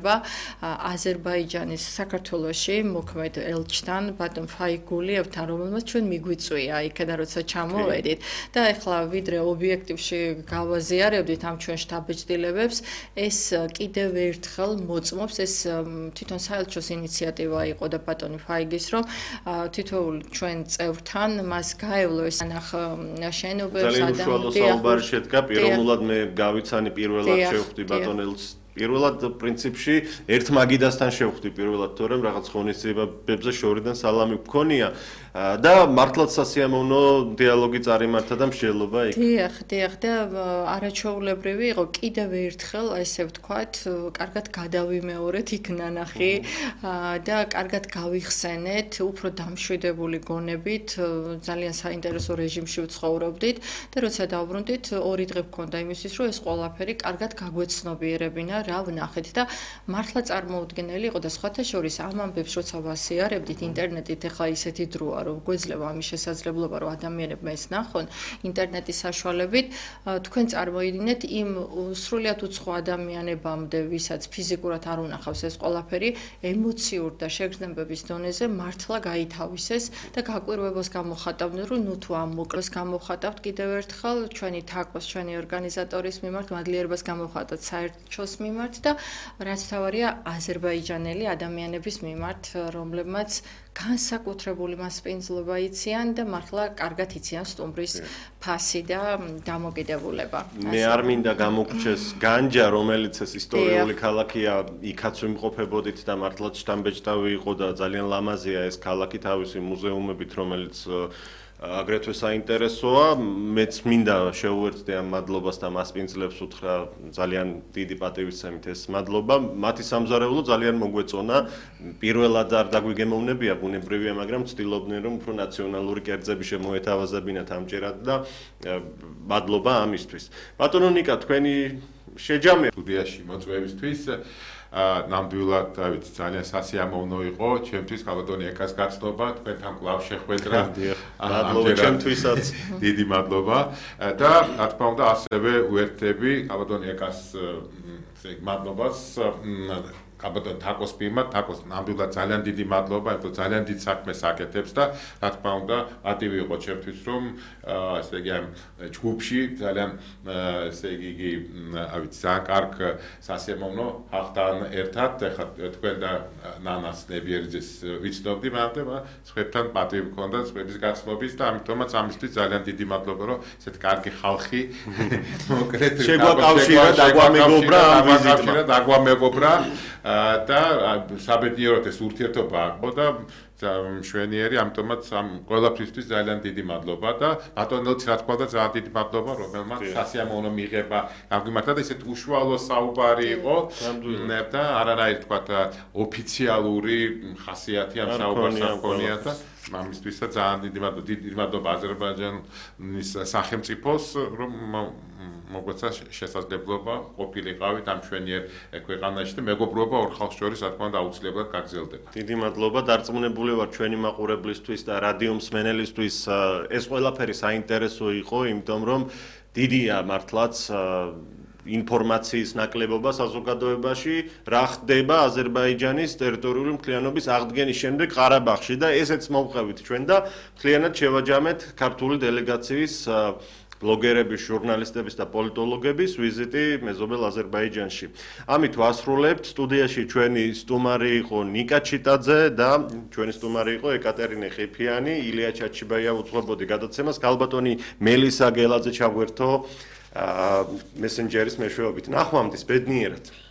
ეხება აზერბაიჯანის საქართველოში მოქმედ ელჩთან ბატონ ფაიგულიევთან, რომელმაც ჩვენ მიგვიწვია იქიდან როცა ჩამოვედით და ეხლა ვიდრე ობიექტივში გავაზიარებდით ამ ჩვენ შთაბეჭდილებებს, ეს კიდევ ერთხელ მოწმობს, ეს თვითონ საელჩოს ინიციატივა იყო და ბატონი ფაიგის, რომ თითოეულ ჩვენ წევრთან მას გაევლო ეს ანახ შენობებს ძალიან უშუალო საუბარი შედგა, პიროვნულად მე გავიცანი პირველად შევხვდი ბატონ ელჩს პირველად პრინციპში ერთ მაგიდასთან შევხვდი პირველად, თორემ რაღაც ღონისძიებებზე შორიდან სალამი მქონია და მართლაც სასიამოვნო დიალოგი წარიმართა და მსჯელობა იქ. დიახ და არაჩვეულებრივი იყო კიდევ ერთხელ, ესე ვთქვათ, კარგად გადავიმეორეთ იქ ნანახი და კარგად გავიხსენეთ უფრო დამშვიდებული გონებით, ძალიან საინტერესო რეჟიმში ვცხოვრობდით და როცა დავბრუნდით, 2 დღე გვქონდა იმისთვის, რომ ეს ყველაფერი კარგად გაგვეცნობიერებინა, რა ვნახეთ და მართლა წარმოუდგენელი იყო და სხვათა შორის ამ ამბებს როცა ვასიარებდით ინტერნეტით, ეხლა ისეთი დროა, რომ გვეძლება ამის შესაძლებლობა, რომ ადამიანებმა ეს ნახონ ინტერნეტის საშუალებით, თქვენ წარმოიდგინეთ იმ სრულიად უცხო ადამიანებამდე, ვისაც ფიზიკურად არ უნახავს ეს ყველაფერი, ემოციურ და შეგრძნებების დონეზე მართლა გაითავისეს და გაკვირვებას გამოხატავდნენ, რომ ნუ თუ ამ მოკლეს გამოხატავთ კიდევ ერთხელ ჩვენი თაკოს, ჩვენი ორგანიზატორის მიმართ, მადლიერებას გამოხატავთ საერთოს მიმართ და რაც თავარია აზერბაიჯანელი ადამიანების მიმართ, რომლებმაც განსაკუთრებული მასპინძლობა იციან და მართლა კარგად იციან სტუმრის ფასი და დამოკიდებულება. მე არ მინდა გამოგრჩეს განჯა, რომელიც ეს ისტორიული ქალაქია, იქაც ვიმყოფებოდით და მართლაც შთამბეჭდავი იყო და ძალიან ლამაზია ეს ქალაქი თავისი მუზეუმებით, რომელიც აგრეთვე საინტერესოა. მეც მინდა შევუერთდე ამ მადლობას და მასპინძლებს უთხრა ძალიან დიდი პატივისცემით ეს მადლობა. მათი სამზარეულო ძალიან მოგვეწონა. პირველად არ დაგვიგემოვნებია, ბუნებრივია, მაგრამ ვცდილობდნენ რომ უფრო ნაციონალური კერძები შემოეთავაზებინათ ამჯერად და მადლობა ამისთვის. ბატონო ნიკა, თქვენი შეჯამება სტუდიაში მოწვევისთვის ნამდვილად დავით ძალიან სასიამოვნო იყო ჩემთვის კაბატონი ეკას გაცნობა თქვენთან კვლავ შეხვედრა მადლობა ჩემთვისაც დიდი მადლობა და რა თქმა უნდა ასევე უერთდები კაბატონი ეკას მადლობას კაბატონ თაკოს მიმართ, თაკოს ნამდვილად ძალიან დიდი მადლობა, იმიტომ ძალიან დიდ საქმეს აკეთებს და რა თქმა უნდა პატივი იყო ჩემთვის რომ ესე იგი ამ ჯგუფში ძალიან ესე იგი ძალიან კარგ სასიამოვნო ხალხთან ერთად ეხლა თქვენ და ნანას ნებიერიძეს ვიცნობდი, მაგრამ სხვებთან პატივი მქონდა სხვების გაცნობის და ამიტომაც ამისთვის ძალიან დიდი მადლობა რომ ესეთ კარგი ხალხი მოკრეთ შეგვაკავშირა, დაგვამეგობრა ამ ვიზიტმა. დაგვამეგობრა და საბედნიეროდ ეს ურთიერთობა აყო და მშვენიერი, ამიტომაც ამ ყველაფრისთვის ძალიან დიდი მადლობა და ბატონელს რა თქმა უნდა ძალიან დიდი მადლობა, რომელმაც სასიამოვნო მიღება გამგიმართა და ესეთ უშუალო საუბარი იყო და არანაირი თქვა ოფიციალური ხასიათი ამ საუბარს აღქონია და ამისთვისაც ძალიან დიდი მადლობა აზერბაიჯანის სახელმწიფოს რომ მოგვეცა შესაძლებლობა ყოფილიყავით ამ მშვენიერ ქვეყანაში და მეგობრობა ორ ხალხს შორის რა თქმა უნდა აუცილებლად გაგრძელდება. დიდი მადლობა, დარწმუნებული ვარ ჩვენი მაყურებლისთვის და რადიო მსმენელისთვის ეს ყველაფერი საინტერესო იყო, იმიტომ რომ დიდია მართლაც ინფორმაციის ნაკლებობა საზოგადოებაში, რა ხდება აზერბაიჯანის ტერიტორიული მთლიანობის აღდგენის შემდეგ ყარაბაღში და ესეც მოვყევით ჩვენ და მთლიანად შევაჯამეთ ქართული დელეგაციის ბლოგერების, ჟურნალისტების და პოლიტოლოგების ვიზიტი მეზობელ აზერბაიჯანში. ამით ვასრულებთ. სტუდიაში ჩვენი სტუმარი იყო ნიკა ჩიტაძე და ჩვენი სტუმარი იყო ეკატერინე ხიფიანი, ილია ჩაჩიბაია უძღვებოდი გადაცემას. ქალბატონი მელისა გელაძე ჩაგვერთო მესენჯერის მეშვეობით. ნახვამდის, ბედნიერად.